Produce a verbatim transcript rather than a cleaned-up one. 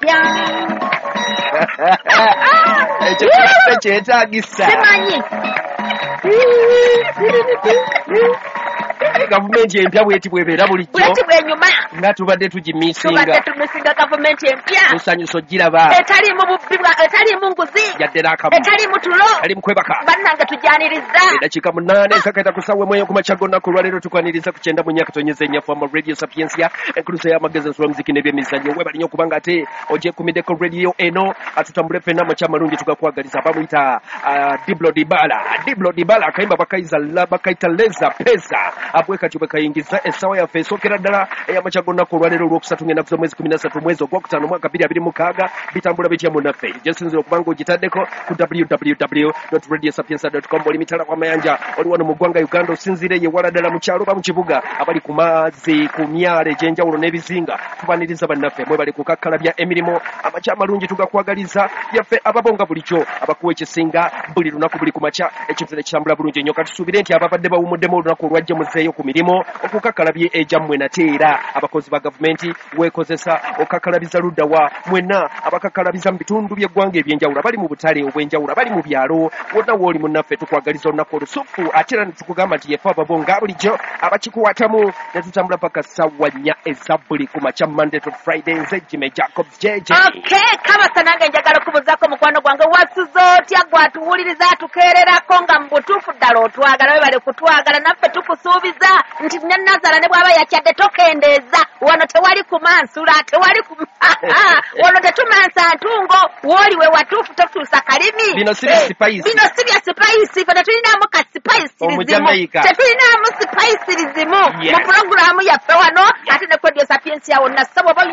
Empya. Ekyo kyetaagisa. Simanyi. Gavumenti empya bweti bwebeera bulijjo. Bweti bwenyuma. Nga tubadde tugimisinga. Tubadde tumisinga gavumenti empya. Tusanyusa ogiraba. Etaliimu bubbi bwa, etaliimu nguzi. Yadde n'akamu. Etaliimu tulo. Etaliimu kwebaka. Bannange tujjaniriza. Eddakiika munaana ezakayita ku ssaawa emu ey'oku makya g'olunaku olwaleero tukwaniriza ku kyenda mu nnya katonyeza ennya F M Radio Sapientia, enkuluso y'amagezi ensula muziki n'ebyemizannyo. Weebale nnyo okubanga ate ogyekumiddeko radio eno, atutambule ffenna. Amakya amalungi tugakwagaliza. Bamuyita uh, Diblo Dibala, Diblo Dibala, akayimba bakayiza bakayita Leza Pesa. Abwe kati bwe kayingiza essaawa yaffe esookera ddala ey'amakya g'olunaku olwaleero olwokusatu ng'ennaku z'omwezi kumi na ssatu mwezi ogwokutaano mwaka bbiri abiri mukaaga. Bitambula bitya munnaffe? Gyesinzira okubanga ogitaddeko ku W W W radio sapientia com. Oli mitala kw'amayanja, oli wano mu ggwanga Uganda, osinziire ye wala ddala mu kyalo oba mu kibuga, abali ku mazzi, ku myalo egy'enjawulo n'ebizinga, tubaniriza bannaffe. Mwebale kukakkalabya emirimu. Amakya amalungi tugakwagaliza. Yaffe ababonga bulijjo abakuwa ekisinga buli lunaku, buli ku makya, ekintu nekitambula bulungi ennyo. Katusuubire nti ababadde bawumuddemu olunaku olwajja muzeeyo ku mirimu okukakkalabye egyammwe. Nate era abakozi ba gavumenti, weekozesa okakkalabiza ludda wa? Mwenna abakakkalabiza mu bitundu by'eggwanga ebyenjawulo, abali mu butale obw'enjawulo, abali mu byalo, wonna wooli munnaffe, tukwagaliza olunaku olusufu. Ate era netukugamba nti yefe ababo nga bulijjo abakikuwatamu ne tutambula paka ssaawa nnya eza buli ku makya, Monday to Friday. Nze Jime Jacobs J J. Okay, kabasa nange njagala okubuzaako mukwano gwange, wasuza otya gwatuwuliriza atukeererako nga mu butuufu ddala otwagala? Webale kutwagala, naffe tukusuubiza nti ne Nazala ne bw'aba yakyadde tokendeeza. Wano tewali kumansula, tewali ku wano tetumansa ntungo. Wooli we watuufu, totuusa kalimi. Bino si bya Eh, spice. Bino si bya spice, fe tetulinaamu ka spice lizimu. Omujamaica. Tetulinaamu spice lizimu Yes. mu pulogulaamu yaffe wano, ate ne Radio Sapientia wonna. Ssebo oba olina